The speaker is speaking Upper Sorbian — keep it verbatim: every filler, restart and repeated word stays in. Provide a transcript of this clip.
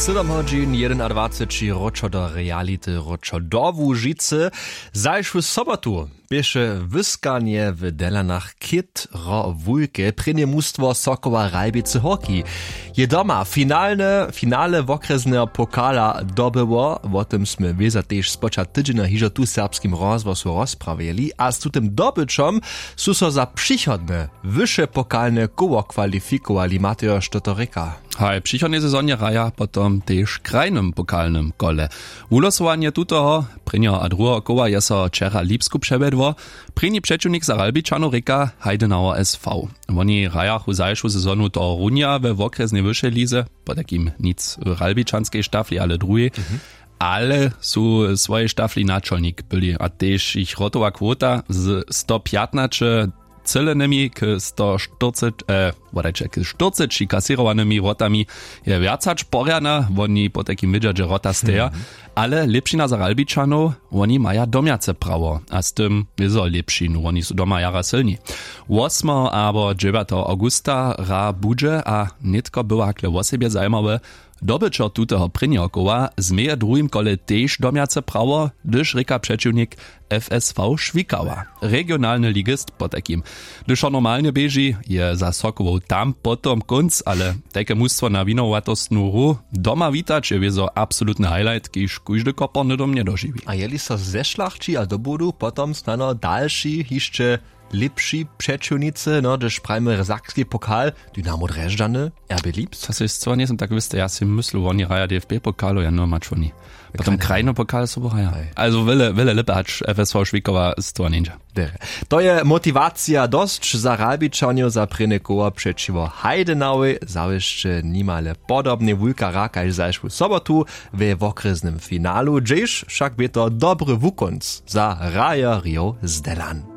Sydom hodźin jedynadwaceći, wróćo do reality, wróćo do Łužicy. Zašłu sobotu běše wyskanje w Delanach chětro wulke. Prěnje mustwo Sokoła Ralbicy Horki je doma finalne finale wokrjesneho pokala dobyło. Wo tym smy wěza tež spočat tydźenja hižo tu w Serbskim rozhłosu rozprawjeli a z tutym dobyćom su so za přichodne wyše pokalne koło kwalifikowali. Matejo, što to rěka? Haj, w přichodnej sezonje hraja potom tež w krajnym pokalnym kole. Wulosowanje tutoho prěnjeho a druheho koła je so wčera w Lipsku přewjedło. Prěni přećiwnik za Ralbičanow rěka Heidenauer S V. Woni hrajachu zašłu sezonu tohorunja we wokrjesnej wyšej lize, potajkim nic w ralbičanskej štafli, ale druhej. Ale su w swojej štafli načolnik byli a tež jich wrotowa kwota z sto pjatnaće třělenymi k sto štyrceći, eh, wodajće, k štyrceći kasěrowanymi wrotami je wjac hač porjana. Woni potajkim wědźa, dźe wrota steja. Ale lěpšina za Ralbičanow, woni maja domjace prawo a z tym wězo lěpšinu, woni su doma jara sylni. Wosmeho abo dźewjateho awgusta hra budźe a nětko była hakle wosebje zajimawe. Dobyćo tuteho prěnjeho koła změje w druhim kole tež domjace prawo, hdyž rěka přećiwnik F S V Šwikała, regionalny ligist potajkim. Hdyž so normalnje běži, je za Sokołow tam potom kónc, ale tajke mustwo na winowatostnu hru doma witać je wězo absolutny highlight, kiž kóždy koporny dom njedožiwi. A jeli so zešlachći a dobudu potom snano dalši hišće lěpši přećiwnicy, no, hdyž prajimy sakski pokal, Dynamo Drježdźany, R B Lipsk? To sej scyła njejsym tak wěsty, ja sej myslu, woni hraja D F B pokalu, ja, no, mač woni. Potom krajny pokal sobu hraja. Also wjele wjele lěpje hač F S V Šwikowa scyła njeńdźe. To je motiwacija dosć za Ralbičanjow za prěnje koło přećiwo Heidenauej. Zawěsće nimale podobnej wulka hra kaž zašłu sobotu we wokrjesnym finalu, hdźež wšak bě to dobry wukónc za hrajerjow z Delan.